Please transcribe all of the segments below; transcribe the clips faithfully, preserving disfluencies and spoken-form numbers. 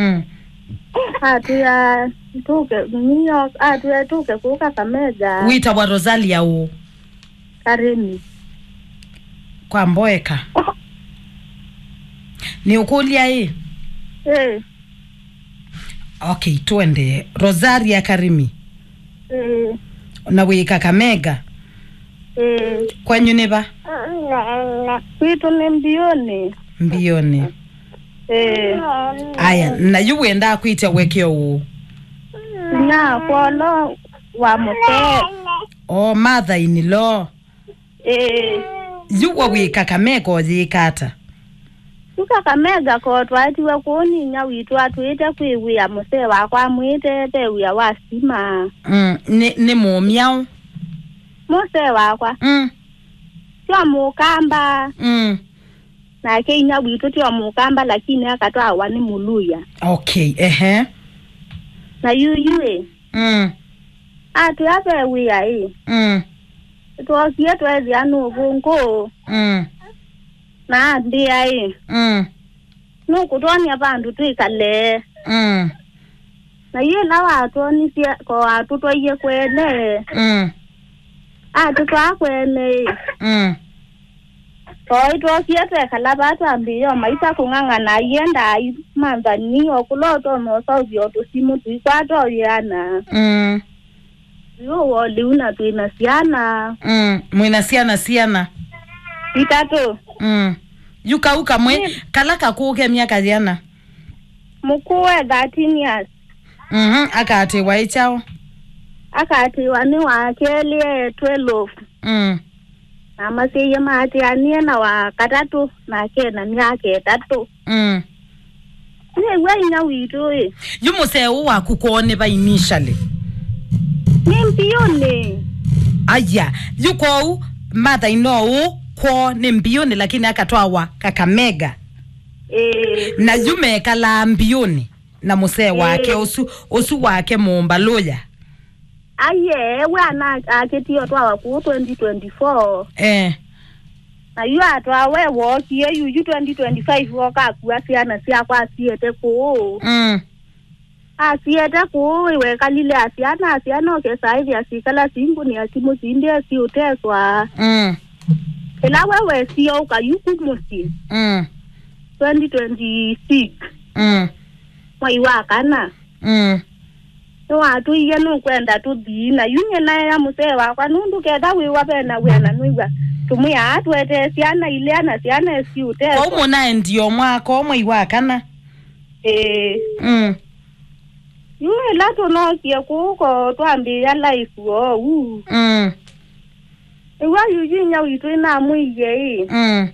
Mm. Atwĩa tũke New York, atwĩa tũke kũu Kakamega. Wĩtawa Rosalia ũ? Karĩmi. Kwa mboeka. Nĩũkũlya ĩ? Ĩĩ. Okay, twende. Rosalia Karĩmi. Ĩĩ. Na wĩ Kakamega? Ĩĩ. Kwenyu nĩ va? Kwitũ nĩ Mbiũnĩ. Mbiũnĩ. Ĩĩ. Aya, na yu wĩendaa kwĩtya ũekeo ũũ? Nya kwolo wa mũsee. O mother in law. Ĩĩ. Yu we wĩ Kakamega ũyĩka ata? Yu Kakamega ko twaetiwe kũu nĩ inya witũ atwĩte kwĩ wĩa, mũsee wakwa amwĩte ve wĩa wa stima. Mm, nĩ, nĩ mũmyaũ? Mũsee wakwa. Mm. Tyo mũkamba. Mm. Nake inya witũ tyo mũkamba, lakini akatwawa nĩ mũluya. Okay, ehe. Na yuyu ĩ. Mm. Atwĩa ve wĩa ĩ. Mm. Twookie tweethĩa nũvũngũ. Mm. Na ambĩa ĩ. Mm. Nũkũtwony'a vandũ twĩkale. Mm. Na yu ĩla watwonisye ko atũtwaie kwene. Mm. Atũtwaa kwene ĩ. Mm. Oĩ twookie twekala vaa twambĩĩa o maisa kũng'ang'ana, aiendaa manthani o kũla ũtonya ũsaũvya o tũsimũ tũikwata ũyĩana. Mm. Yu woliu na twĩ na syana. Mm, mwĩ na syana siana? Itatũ. Mm. Yu kau kamwe, mm, kala kakũũ ke myaka yĩana? Mũkũũ e thirteen years. Mhm, akaatĩĩwa ĩ kyaũ? Akaatĩĩwa nĩ wa kelĩ e twelve. Mm. Na masyĩie maatĩanĩe na wa katatũ, nake ena myaka ĩtatũ. Mm. Nĩw'a inya witũ ĩ. Yu mũsee ũũ waku kwoo nĩ va initially? Nĩ Mbiũnĩ. Aya, yu kwoou mother-in-law ũũ kwoo nĩ Mbiũnĩ, lakini akatwawa Kakamega. Ĩĩ. Na yu mekalaa Mbiũnĩ na mũsee wake, ĩĩ, ũsu, ũsu wake mũmbalũya. Aiee, we ana akĩtie ũtwawa kũu twenty twenty-four. Eh. Na yu atwawe wookie, yu, yu twenty twenty-five woka akua syana syakwa asiete kũu. Mm. Asiete kũu, wekalile asyana, asyana ũkesa ĩthĩa sikala singũnĩa simũ sindĩ siũteswa. Mm. Ĩla we wesie ũka yu ku mũsyĩ. Mm. Twenty twenty-six. Mm. Mwai wa kana. Mm. Nĩwatũie nũkwenda tũthi, na yu nyie naea mũsee wakwa, nũndũ ketha wĩwa ve na wĩa na nũiw'a tũmwĩaa tũetee syana ilea na syana esi ũteswa. Kwoou mũnaendie o mwaka o mwai wa kana? Ĩĩ. Mm. Yu ĩla tũnookie kũu ko twambĩĩa life oou. Mm. Nĩw'a yuyu inya witũ ĩnamwĩie ĩ. Mm.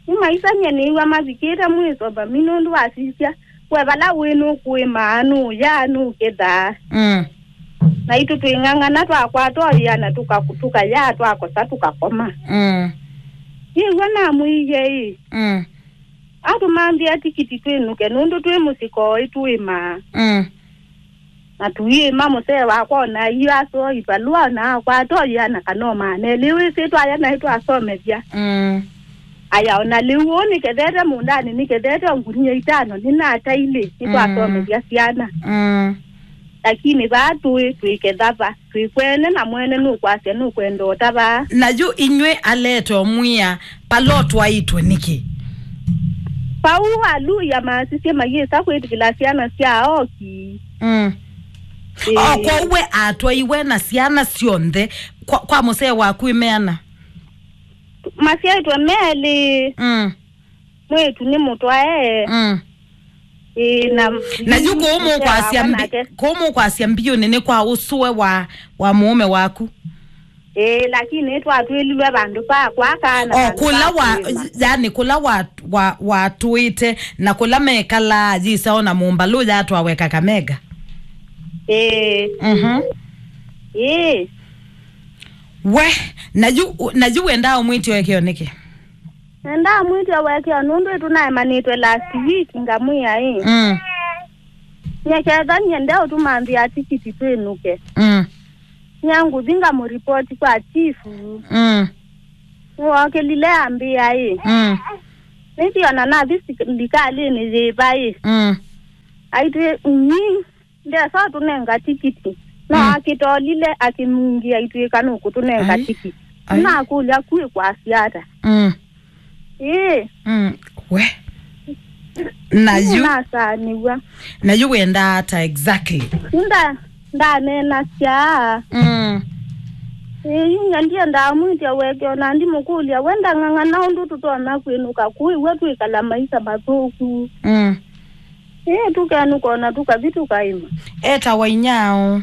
Nĩmaisany'e nĩw'a mavikĩte mwĩso vami nũndũ wasisya we vala wĩ nũkũĩmaa, nũũyaa, nũkethaa. Mm. Naitũ twĩng'ang'ana twakwata ũyĩa na tũka-, tũkayaa, twakosa tũkakoma. Mm. Nĩw'a namwĩie ĩ. Mm. Atũmanthĩa tikiti twĩnũke nũndũ twĩ mũsyĩ koĩ tũĩmaa. Mm. Na tũiĩma mũsee wakwa ona yu asoo ivalũa na akwata ũyĩa na kana ũmaanelĩ wĩsĩ twaya naĩ twasomethya. Mm. Aya ona lĩu ũũ nĩkethete mũndanĩ, nĩkethete o ngunia itano nĩnatailĩ, nĩtwasomethya syana. Mm. Lakini vaa tũĩ twĩketha va, twĩ kwene na mwene nũkwasya nũkwenda ũta vaa. Na yu inyw'ĩ alete ũmwĩa pala ũtwaĩtwe nĩkĩ? Vau aluya masisye mayĩsa kwĩtĩkĩla syana sya oki. Mm. Ĩĩ. O kwoou we atwaiwe na syana syonthe kwa, kwa mũsee waku ĩmeana? Masyaĩtwe melĩ. Mm. Mwĩĩtu nĩ mũtwae. Mm. Ĩĩ, na na yu kũũ mũkwasya mbi-, nake kũũ mũkwasya Mbiũnĩ nĩ kwa ũsũe wa, wa mũũme waku? Ĩĩ, lakini twatwĩlilwe vandũ va kwaka na o vandũ kũla va wa, kwĩma. Yani kũla wa, wa, watũĩte na kũla mekalaa yĩsa ona mũmbalũ yatwawe Kakamega. Ĩĩ. Mhm. Ĩĩ. We, na yu, na yu wendaa ũmwĩtye ũekeo nĩkĩ? Nĩndaa mwĩtya ũekeo nũndũ ĩtũnaemanĩtwe last week ngamwĩa ĩ. Mm. Nyeketha nyende ũtũmanthĩa tikiti twĩnũke. Mm. Nyangũthi ngamũripoti kwa chifu. Mm. Nĩwookĩlile ambĩa ĩ. Mm. Nĩthi ona nathi silikalĩnĩ yĩva ĩ. Mm. Aitwĩ, nyi, ndesa ũtũnenga tikiti. No, mm, akĩtolile akĩnungia aitwĩka nũkũtũnenga, ai, tikiti. Ai. Nakũlya, kwĩ kwasya ata? Mm. Ĩĩ. Mm. We. Na yu, nasaanĩw'a. Na yu wendaa ata exactly? Nda, ndaneenasya. Mm. Ĩĩ, yu ndiendaa mwĩtya weke, ona ndimũkũlya we ndang'ang'ana ũndũ tũtonya kwĩnũka kũu, iwe twĩkala maisa mathũku. Mm. Ĩĩ, tũkenũka ona tũkathi tũkaĩma. Etawa inyao?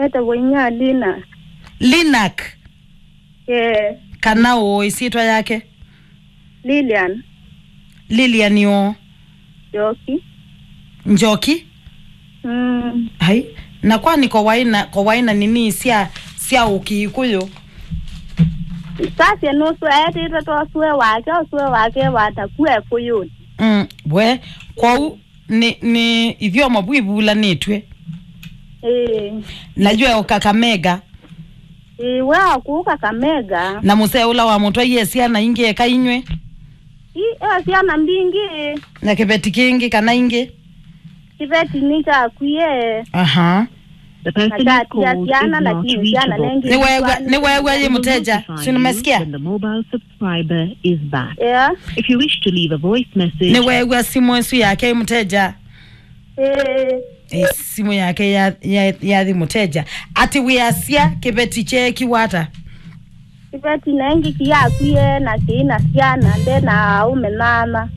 Etawa inya Lina. Linak? Ĩĩ. Kana ũũ ĩsyĩtwa yake? Lilian. Lilian ũũ? Njoki. Njoki? Mm. Ai, na kwani ko waĩ na, ko waĩ na nini sya, sya Ũkĩkũyũ? Sasya nũsũe, etĩtwe ta ũsũe wake, ũsũe wake wataku Ekũyũnĩ. Mm, we, kwoou nĩ, nĩ ithyomo vu ivulanĩtw'e. Ĩĩ. Na yu e o Kakamega. Ĩĩ, we o kũu Kakamega. Na mũsee ũla wamũtwaie syana ingĩ eka inyw'ĩ? Ĩ, e syana mbingĩ. Na kĩveti kĩngĩ kana ingĩ? Kĩveti nĩkyakwie. Aha. The person you called is not reachable. Na kyatia syana, lakini syana nengĩ. Nĩweew'a, nĩweew'a yĩ mũteja? Will notify you when the mobile subscriber is back. Yeah. If you wish to leave a voice message. Nĩweew'a simũ ĩsu yake yĩ mũteja? Ĩĩ. Ĩ, simũ yake ya, ya, yathi mũteja. Atĩ wĩasya kĩveti kyeekiwe ata? Kĩveti nengĩ kĩyakwie na kĩĩ na syana, nde na aũme nana.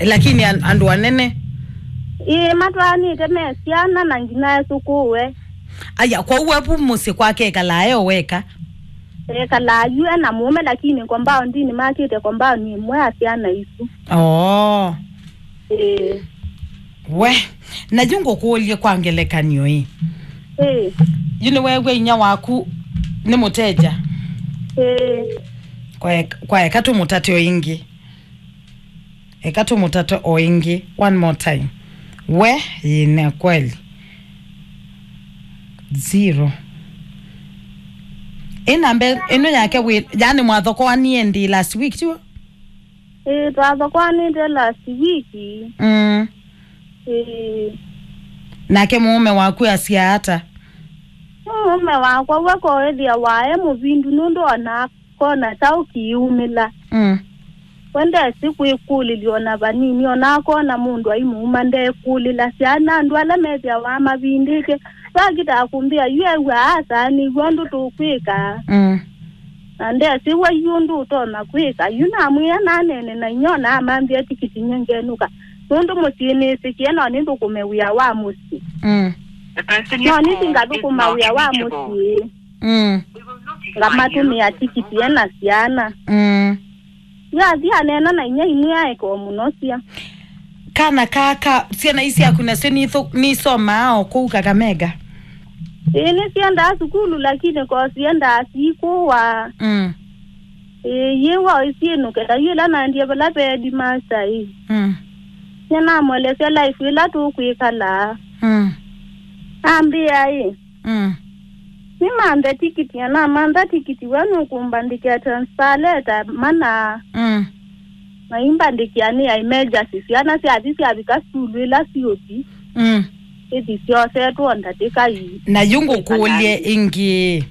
Lakini an-, andũ anene? Ĩĩ, matwaanĩte me syana na nginya esũkũũe. Aya, kwoou avu mũsyĩ kwake ekalaa e o weka? Ekalaa yu e na mũũme, lakini compound-inĩ makĩte compound ĩmwe ya syana isu. Oo. Ĩĩ. We, na yu ngũkũlye kwa ngelekany'o ĩ. Ĩĩ. Yu nĩweew'a inya waku nĩ mũteja? Ĩĩ. Kwa eka, kwa eka tũmũtate o ĩngĩ. Eka tũmũtate o ĩngĩ. One more time. We, ĩĩ, nĩ kweli. Zero. Ĩ namba ĩno yake wĩ, yani mwathokoanie ndi last week, tiw'o? Ĩĩ, twathokoanĩte last week. Mm. Ĩĩ. Nake mũũme waku asya ata? Mũũme wakwa we koethĩa wae mũvindu nũndũ ona akona ta ũkĩumĩla. Mm. We ndesĩ kwĩkũlĩlya ona vanini, ona akona mũndũ aimũuma ndekũlĩla. Syana andũ ala methĩawa mavindĩte, vakitaa kũmbĩa yu ew'a asaanĩw'a ũndũ tũkwĩka. Mm. Na ndesĩ we yu ũndũ ũtonya kwĩka. Yu namwĩa naneene na inyia na amambĩa tikiti nye ngenũka. Nũndũ mũsyĩ nĩsĩkĩe no nĩthũkũme wĩa wa mũsyĩ. Mm. No nĩthi ngathũkũma wĩa wa mũsyĩ. Mm. Ngamatũmĩa tikiti e na syana. Mm. Yathi aneena na inyia imwe aeka o mũno sya. Kana kaka, syana ii syaku nasyo nithu-, nisomaa o kũu Kakamega? Ĩĩ, nĩsyendaa sukulu, lakini ko syendaa sikũwa. Mm. Ĩĩ, yĩwa ĩsyĩnũke, ta yu ĩla naendie vala ve headmaster ĩ. Mm. Nĩnamũelesya life ĩla tũkwĩkalaa. Mm. Ambĩa ĩ, Mm. Nĩmanthe tikiti, na namantha tikiti, we nũkũmbandĩkĩa transfer letter mana. Mm. Na imbandĩkĩa nĩ ya emergency. Syana syathi syavika sukulu ĩla siũthi, mm, ithi syosetwe ndatĩka ii. Na yu ngũkũlye ĩngĩ.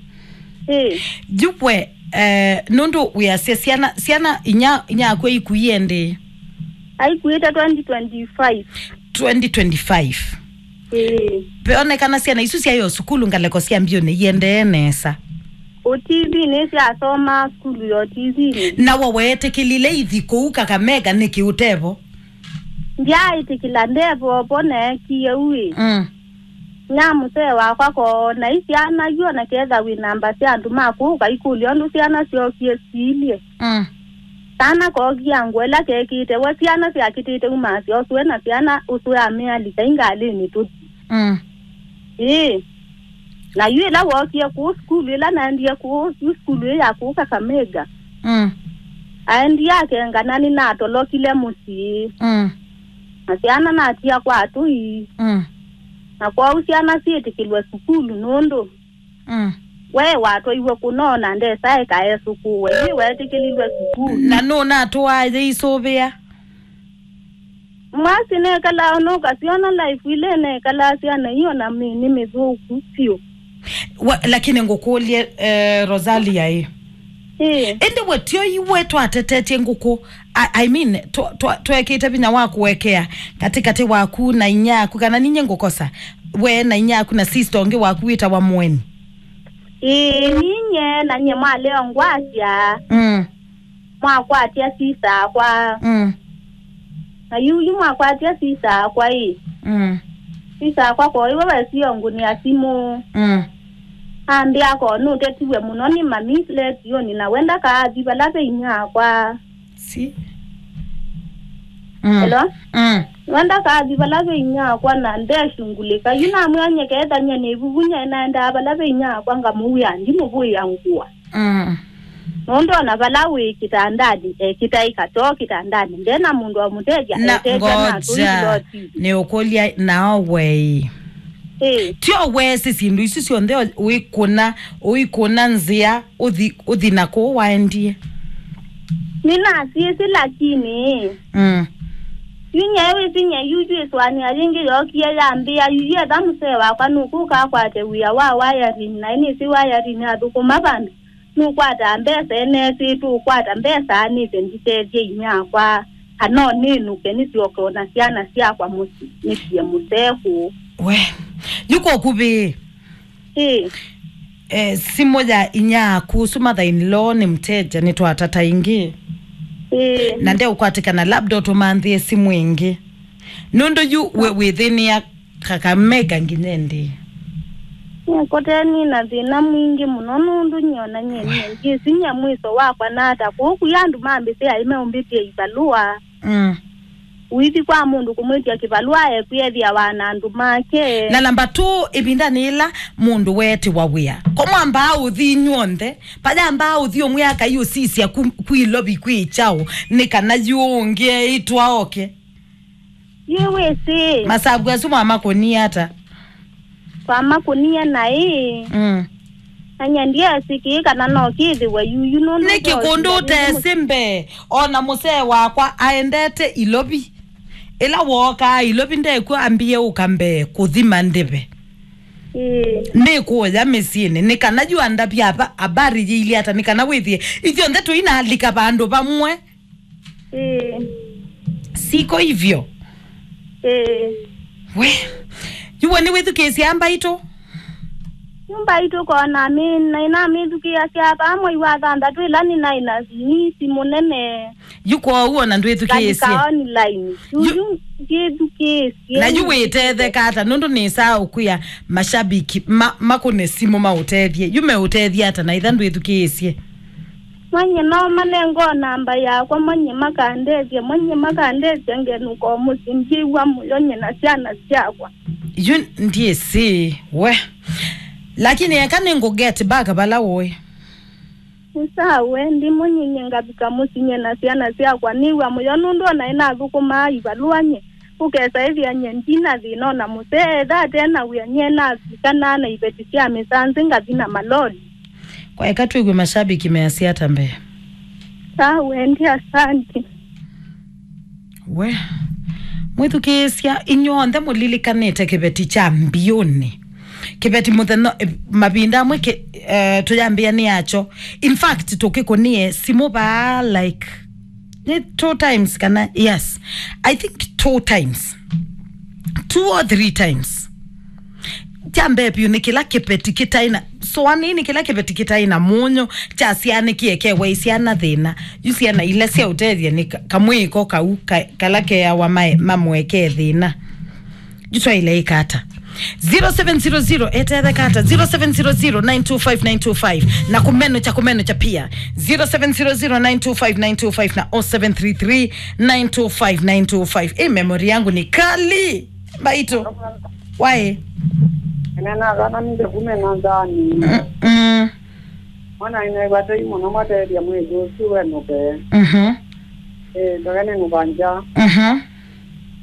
Ĩ. Yu we, eh, nũndũ wĩasya syana, syana inya, inyakwe ikuie ndĩ? Aikuĩte twenty twenty-five. Twenty twenty-five. Ĩĩ. Veonekana syana isu syaĩ o sukulu ngalĩko sya mbyũnĩ iendee nesa. O T V nĩ syasoma sukulu ya O T V nĩ. Na we weetĩkĩlile ithi kũu Kakamega nĩkĩ ũtevo? Ndyaaĩtĩkĩla ndevo vo neekie ũĩ. Mm. Nya mũsee wakwa koona i syana yu ona ketha wĩ namba sya andũ ma kũu ũkaikũlya ũndũ syana syookie siilye. Mm. Kana kookie ngũa ĩla kekĩte we syana syakĩtĩte umasya ũsũe na syana ũsũe amealika i ngalĩnĩ tũthi. Mm. Ĩĩ. Na yu ĩla wookie kũu sukulu ĩla naendie kũu, yu sukulu ĩ ya kũu Kakamega. Mm. Aendie akengana nĩnatolokile mũsyĩ. Mm. Na syana natia kwa atũi. Mm. Na kwoou syana syĩtĩkĩlwe sukulu nũndũ Mm. We watwaiwe kũnoo na ndesa eka esũkũwe. Ĩ weetĩkĩlilwe sukulu. Na nũnatũaa yĩisũvĩa? Mwasi nekalaa ona ũkasiona life ile nekalaa syana iyo na mĩ nĩ mĩthũku vyũ. Wa, lakini ngũkũlye, eh, Rosalia ĩ. Ĩĩ. Ĩndĩ we tio iwe twatetetye ngũkũ. I, I mean, twa-, twa-, twekĩte vinya wa kũekea katĩkatĩ waku na inya yaku, kana ninye ngũkosa? We na inya yaku na sister ũngĩ waku wĩtawa Mũeni. Ĩĩ, ninye na nye mwaleo ngwasya. Mm. Mwakwatya sisa akwa. Mm. Na yuyu mwakwatya sisa akwa ĩ. Mm. Sisa akwa ko iwe wesio ngũnĩa simũ. Mm. Ambĩa ko nũtetiwe mũno nĩ mami letioni na we ndakaathi vala ve inya akwa. Si. Mm. Hello? Mm. We ndakaathi vala ve inya akwa na ndeshungulĩka. Yu namwĩa nyekethany'a nĩ ivuvu nyenaendaa vala ve inya akwa ngamũwĩa ndimũvũĩa ngũa. Mm. Nũndũ ona vala wĩ kĩtandanĩ, ekĩtaĩ katoo kĩtandanĩ, ndena mũndũ wa mũtethya, na etethya na atũi ngoja, lotinĩ. Nĩũkũlya nao wei. Ĩĩ. Tyo wesĩ syĩndũ isu syonthe ũikũna, ũikũna nzĩa, ũthi, ũthi na kũu waendie? Nĩnasyĩsĩ, lakini. Mm. Yu nyie wĩsĩ nyie yu yu ĩsũanĩa yĩngĩ yookie yambĩa, yu yu etha mũsee wakwa nũkũka akwate wĩa wa wiring, na nĩsĩ wiring athũkũma vandũ. Nũkwata mbesa enesĩ tũkwata mbesa nĩse nditethye inyakwa, kana nĩnũke nĩsyoke ona syana syakwa mũsyĩ nĩsie mũsee kũũ. We, yu kwa ũkuvĩ. Ĩĩ. Eh, simũ ya inya yaku ũsu mother in law nĩ mteja, nĩtwatata ĩngĩ. Ĩĩ. Na ndeũkwatĩkana, labda ũtũmanthĩe simũ ĩngĩ. Nũndũ yu we wĩthĩnĩa Kakamega nginya ĩndĩ? Nĩkũteni na thĩna mwingĩ mũno nũndũ nyie ona nyie nĩndyĩsĩ nyie mwĩso wakwa nata kũu kũya andũ mambĩsĩ aĩ meũmbĩtĩe ivalũa. Mm. Ũithi kwa mũndũ kũmwĩtya kĩvalũa ekwĩethĩawa na andũ make. Na namba two, ĩvindanĩ yĩla mũndũ weetĩwa wĩa, ko mwambaa ũthi inyw'onthe, payambaa ũthi ũmwe akai ũsisya ku, ku Ilovi kwĩ kyaũ, nĩ kana yu ũngĩ eĩtwa oke. Yu wĩsĩ. Masavu asu mwamakũnie ata? Twamakũnie naĩ. Mm. Na nyie ndyeesĩ kĩĩ kana no kĩthĩwe yuyu nũndũ nĩkĩ kũndũ ũteesĩ mbee? Ona mũsee wakwa aendete Ilovi. Ĩla wookaa Ilovi ndekw'o ambie ũka mbee kũthima ndĩve. Ĩĩ. Nĩkũya mĩsyĩnĩ, nĩ kana yu andavya ava, habari yĩilye ata, nĩ kana wĩthĩe ithyonthe tũinalika vandũ vamwe. Ĩĩ. Siko hivyo? Ĩĩ. We, yu we nĩwĩthukĩĩsye mbaitũ? Yu mbaitũ kona mi-, na inamĩthukĩĩasya vaa mwei wa thanthatũ ĩla nĩnaĩ na nisi mũnene. Yu kwoou ona ndwĩthukĩĩsye? Ngalika online. Yu, yu, yu ndyĩthukĩĩsye. Na yu wĩtetheka ata? Nũndũ nĩsaa ũkwĩa mashabiki ma, makũne simũ maũtethye. Yu meũtethye ata na itha ndwĩthukĩĩsye? Manye no manengoo namba yakwa, manye makandethya, manye makandethya ngenũka o mũsyĩ, ndyĩw'a mũyo nye na syana syakwa. Yu ndyĩsĩ we. Lakini eka nĩngũ get back vala ũĩ. Nĩ sawa, we, ndimũnyinye ngavika mũsyĩ nye na syana syakwa, nĩw'a mũyo nũndũ o naĩ nathũkũmaa ivalũa nye. Ũkesa ĩthĩa nye ndina thĩna o na mũsee, etha ate na wĩa nye navikanaa na iveti sya mĩsanzĩ ngathi na maloli. Kwa eka twĩw'e mashabiki measya ata mbee. Sawa, wendi, asante. We, mwĩthukĩĩsya, inyw'onthe mũlilikanĩte kĩveti kya mbiũnĩ. Kĩveti mũthenya, eh, mavinda amwe kĩ, eh, tũyambĩa nĩ yakyo. In fact, tũkĩkũnie simũ vaa, like, nĩ two times kana, yes, I think two times, two or three times. Kya mbee vyũ nĩ kĩla kĩveti kĩtaĩ na, sũanĩnĩ, kĩla kĩveti kĩtaĩ na mũnyũ kyasyaanĩkie kewa syana thĩna. Yu syana ila syaũtethya nĩ ka-, kamwĩĩko kau ka-, kala keawa mae-, mamũekee thĩna. Yu twaĩle ĩka ata? Zero seven zero zero, etetheka ata? Zero seven zero zero, nine two five, nine two five. Na kũmenũkya, kũmenũkya pia. Zero seven zero zero, nine two five, nine two five na oh seven three three, nine two five, nine two five. Ĩ memory yangu ni kali. Mbaitũ. Waĩ. Ene na kana nĩ ndevu me na nzani. Mm, mm. Mwana ine vatei mũno matethya mwĩthĩ ũsu wenũke. Mhm. Eh, ndoke nĩ mũvanja. Mhm.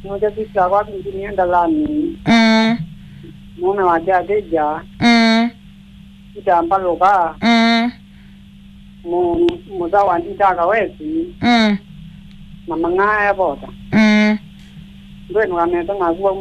Nũke sista kwa kingini endalani. Mm. Mume wake akĩja. Mm. Itambalũka. Mm. Mu-, mũtha wa nditaka wesi. Mm. Na mang'aa evota. Mm. Ndwĩnũka nesa naku wauma